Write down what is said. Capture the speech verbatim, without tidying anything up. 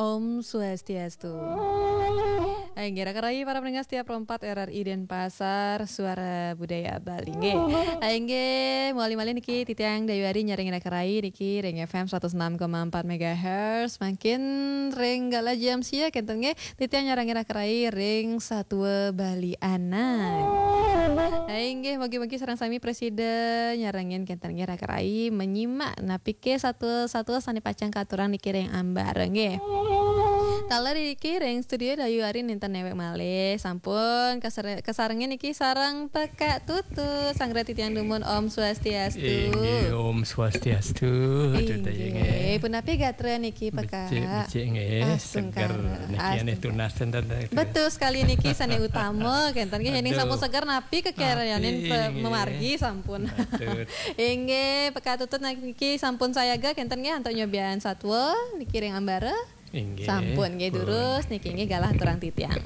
Om Swastiastu. Inggih, raka rai para pendengar setia Pro empat R R I Denpasar, Suara Budaya Bali. Inggih. Inggih, mawali malih niki titiang Dayu Ari nyarengin raka rai niki ring F M seratus enam koma empat megahertz. Mangkin ring galah jam sia kenten nggih, titiang nyarengin raka rai ring Satua Bali Anak. Inggih, mugi-mugi sareng sami prasida nyarengin kenten nggih raka rai, menyimak napi ké satua-satua sané pacang katurang niki ring ambara nggih. Taler niki ring studio Dayu Ari nénten néwék malih, sampun kasare-, kasarengin niki sareng Pekak Tutut, sanggra titiang dumun. Om Swastiastu. Inggih, Om Swastiastu. Tutut, inggih. Inggih. Punapi gatra niki, Pekak? Becik, becik nggih, astungkara. Seger. Niki ané astungkara. Tunas ten, ten, ten. Betul sekali niki sané utama, kenten nggih, yéning sampun seger napi kekéréanin pe-, mamargi sampun. Aduh. Nggih. Matur. Inggih, Pekak Tutut niki sampun sayaga kenten nggih antuk nyobiahang satua niki ring ambara. Inggih, sampun nggih pun. Durus niki nggih galah aturang titiang.